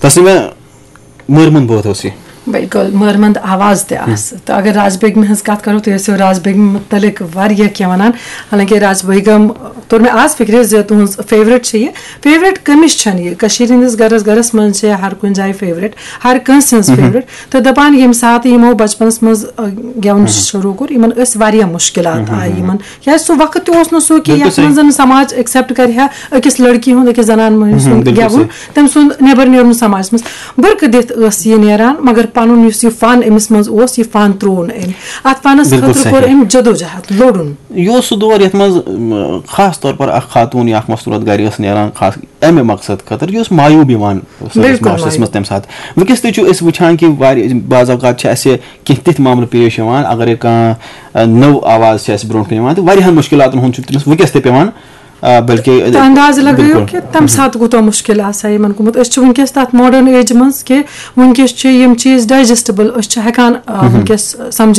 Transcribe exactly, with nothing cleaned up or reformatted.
اصل میں مٲرمن بٲتھ اوس یہِ۔ بِلکُل، مٲرمنٛد آواز تہِ آسہٕ۔ تہٕ اگر راج بیگمہِ ہٕنٛز کَتھ کَرو، تُہۍ ٲسِو راج بیگمہِ مُتعلِق واریاہ کینٛہہ وَنان۔ حالانکہِ راج بیگم توٚر مےٚ آز فِکرِ زِ تُہٕنٛز فیورِٹ چھِ یہِ۔ فیورِٹ کٔمِس چھَنہٕ یہِ؟ کٔشیٖرِ ہٕنٛدِس گَرَس گَرَس منٛز چھِ ہر کُنہِ جایہِ فیورِٹ، ہر کٲنٛسہِ ہٕنٛز فیورِٹ۔ تہٕ دَپان ییٚمہِ ساتہٕ یِمو بَچپَنَس منٛز، آ، گٮ۪وُن شروٗع کوٚر، یِمَن ٲسۍ واریاہ مُشکِلات آیہِ یِمَن۔ کیٛازِ سُہ وقت تہِ اوس نہٕ سُہ کہِ بِلکُل یَتھ صحیح۔ منٛز زَن سماج ایکسیپٹ کَرِ ہا أکِس لڑکی ہُنٛد، أکِس زَنان مٔہنِوِ ہُنٛد بِلکُل گٮ۪وُن، صحیح۔ تٔمۍ سُنٛد نٮ۪بَر نیرُن سماجَس منٛز۔ بُرکہٕ دِتھ ٲس یہِ نیران، مگر پَنُن یُس یہِ فن أمِس منٛز اوس، یہِ فن ترٛوو نہٕ أمۍ۔ اَتھ فنَس بِلکُل خٲطرٕ کوٚر صحیح۔ أمۍ جدوجہد، لوٚڑُن۔ یہِ اوس سُہ دور یَتھ منٛز، م، خاص طور پر اکھ خاتوٗن یا اکھ مستوٗرت گرِ ٲس نیران خاص اَمہِ مقصد خٲطرٕ، یہِ اوس معیوب یِوان سٲنِس بِلکُل معاشرَس معیوب۔ منٛز تَمہِ ساتہٕ۔ وٕنکیٚس تہِ چھُ أسۍ وٕچھان کہِ واریاہ بعض اوقات چھِ اَسہِ کینٛہہ تِتھۍ معاملہٕ پیش یِوان، اگرے کانٛہہ، آ، نٔو آواز چھِ اَسہِ برونٛٹھ کُن یِوان، تہٕ واریاہَن مُشکِلاتَن ہُنٛد چھُ تٔمِس وٕنکیٚس تہِ پٮ۪وان، آ، بلکہِ تہٕ اندازٕ لگٲیِو بِلکُل۔ کہِ تَمہِ ساتہٕ کوٗتاہ مُشکِل آسہِ ہا یِمن گوٚمُت۔ أسۍ چھِ وٕنکیٚس تَتھ ماڈٲرٕن ایجہِ منٛز کہِ وٕنکیٚس چھِ یِم چیٖز ڈایجسٹبل، أسۍ چھِ ہٮ۪کان، آ، وٕنکیٚس سمجھِتھ۔